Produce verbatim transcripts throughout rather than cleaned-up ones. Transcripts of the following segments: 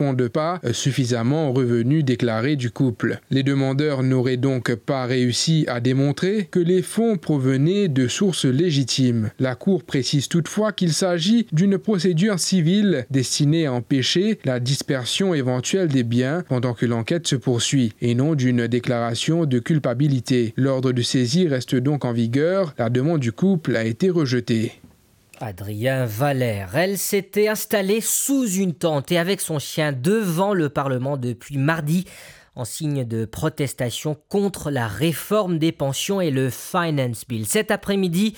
correspondent pas suffisamment aux revenus déclarés du couple. Les demandeurs n'auraient donc pas réussi à démontrer que les fonds provenaient de sources légitimes. La Cour précise toutefois qu'il s'agit d'une procédure civile destinée à empêcher la dispersion éventuelle des biens pendant que l'enquête se poursuit, et non d'une déclaration de culpabilité. L'ordre de saisie reste donc en vigueur. La demande du couple a été rejetée. Adrien Valère. Elle s'était installée sous une tente et avec son chien devant le Parlement depuis mardi, en signe de protestation contre la réforme des pensions et le Finance Bill. Cet après-midi,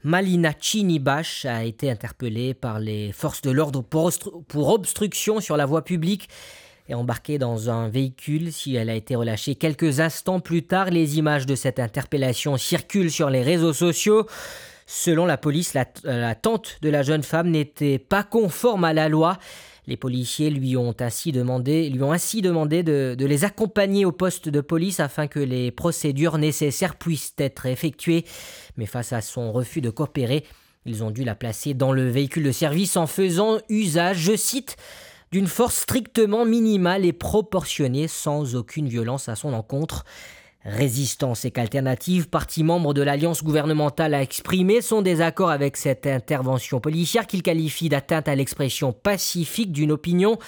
Malina Chinibash a été interpellée par les forces de l'ordre pour obstru-, pour obstruction sur la voie publique et embarquée dans un véhicule. Si elle a été relâchée quelques instants plus tard, les images de cette interpellation circulent sur les réseaux sociaux. Selon la police, la, la tente de la jeune femme n'était pas conforme à la loi. Les policiers lui ont ainsi demandé, lui ont ainsi demandé de, de les accompagner au poste de police afin que les procédures nécessaires puissent être effectuées. Mais face à son refus de coopérer, ils ont dû la placer dans le véhicule de service en faisant usage, je cite, d'une force strictement minimale et proportionnée, sans aucune violence à son encontre. Résistance et qu'Alternative, parti membre de l'alliance gouvernementale, a exprimé son désaccord avec cette intervention policière qu'il qualifie d'atteinte à l'expression pacifique d'une opinion.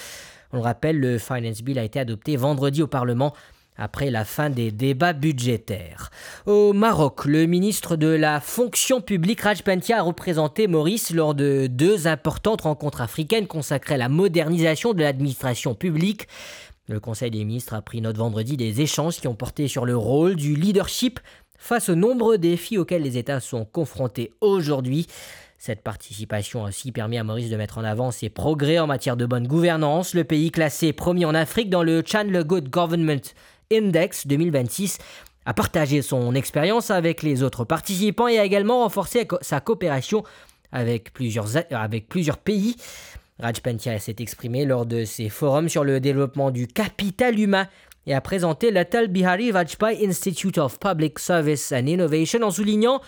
On le rappelle, le Finance Bill a été adopté vendredi au Parlement après la fin des débats budgétaires. Au Maroc, le ministre de la Fonction publique, Raj Pentia, a représenté Maurice lors de deux importantes rencontres africaines consacrées à la modernisation de l'administration publique. Le Conseil des ministres a pris note vendredi des échanges qui ont porté sur le rôle du leadership face aux nombreux défis auxquels les États sont confrontés aujourd'hui. Cette participation a aussi permis à Maurice de mettre en avant ses progrès en matière de bonne gouvernance. Le pays, classé premier en Afrique dans le Chandler Good Government Index deux mille vingt-six, a partagé son expérience avec les autres participants et a également renforcé co-, sa coopération avec plusieurs a-, avec plusieurs pays. Raj Pentia s'est exprimé lors de ses forums sur le développement du capital humain et a présenté l'Atal Bihari Vajpayee Institute of Public Service and Innovation en soulignant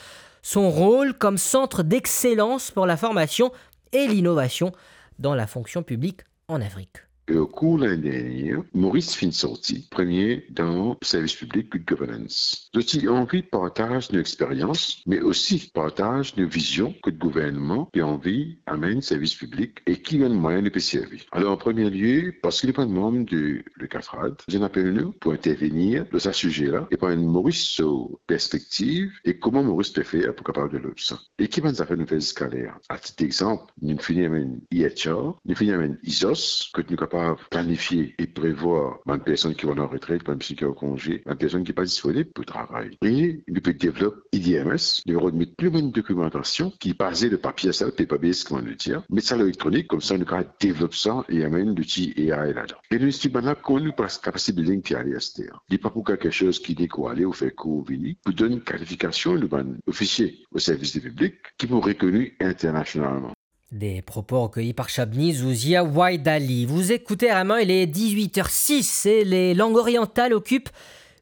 son rôle comme centre d'excellence pour la formation et l'innovation dans la fonction publique en Afrique. E okour lane dernier, Maurice finn sorti premie dan servis piblik, good governance. Zot ti anvi partaz nou experians, me osi partaz nou vizion kot gouvernman pe anvi amenn servis piblik e ki bann mwayin nou pe servi. Alor, an premie lie, parski nou bann manm de le CAFRAD, zot inn apel nou pou intervenir dan sa size la e pou amenn Maurice so perspektiv e kouma Maurice pe fer pou kapav devlop sa. E ki bann zafer nou fer ziska ler? Atit dexanp, nou fini amenn E H R, nou fini amenn ISOS, kot nou kapav planifie e prevwar bann personn ki pou al an retret, bann personn ki an konze, bann personn ki pa disponib pou travay. E nou pe devlop I D M S, nou pe rod met pli bann dokimantasion ki baze lor papie, sa, paperless, kouma nou dir, met sa lor elektronik, koumsa nou kapav devlop sa e amenn louti A I ladan. E nou explike bann la kouma nou pas capacity building pe ale aster. Li pa pou kiksoz ki nek ou ale ou fer kour vini, pou donn kalifikasion nou bann ofisie o servis de piblik ki pou rekoni internasionalman. Des propos recueillis par Shabni Zouzia Waidali. Vous écoutez Vraiment, il est dix-huit heures six et les langues orientales occupent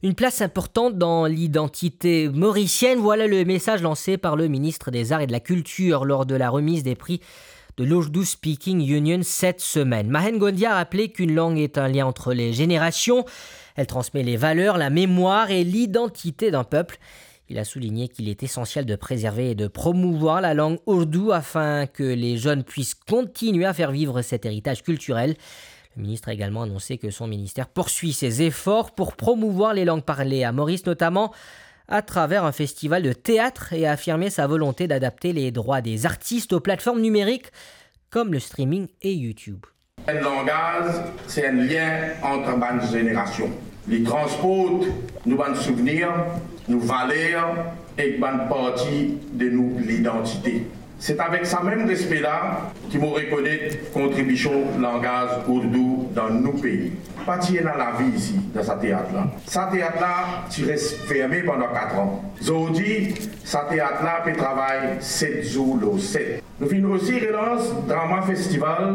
une place importante dans l'identité mauricienne. Voilà le message lancé par le ministre des Arts et de la Culture lors de la remise des prix de l'Urdu Speaking Union cette semaine. Mahen Gondia a rappelé qu'une langue est un lien entre les générations. Elle transmet les valeurs, la mémoire et l'identité d'un peuple. Il a souligné qu'il est essentiel de préserver et de promouvoir la langue ourdou afin que les jeunes puissent continuer à faire vivre cet héritage culturel. Le ministre a également annoncé que son ministère poursuit ses efforts pour promouvoir les langues parlées à Maurice, notamment à travers un festival de théâtre, et a affirmé sa volonté d'adapter les droits des artistes aux plateformes numériques comme le streaming et YouTube. Enn langaz, se enn lien ant bann zenerasion. Li transport nou bann souvenir, nou valer ek bann parti de nou lidantite. Se avek sa mem respe la ki mo rekonet kontribision langaz ourdou dan nou pei. Pa ti ena lavi isi dan sa teat la. Sa teat la ti res ferme pandan kat an. Zordi, sa teat la pe travay set zour lor set. Nou finn osi relans Drama Festival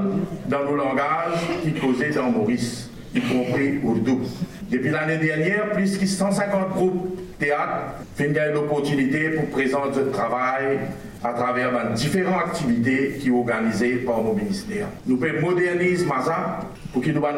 dan nou langaz ki koze dan Moris, ikonpri ourdou. Depi lane dernie, plis ki san sinkant group teat finn gagn loportinite pou prezant zot travay atraver bann diferan aktivite ki organize par mo minister. Nou pe moderniz maza pou ki nou bann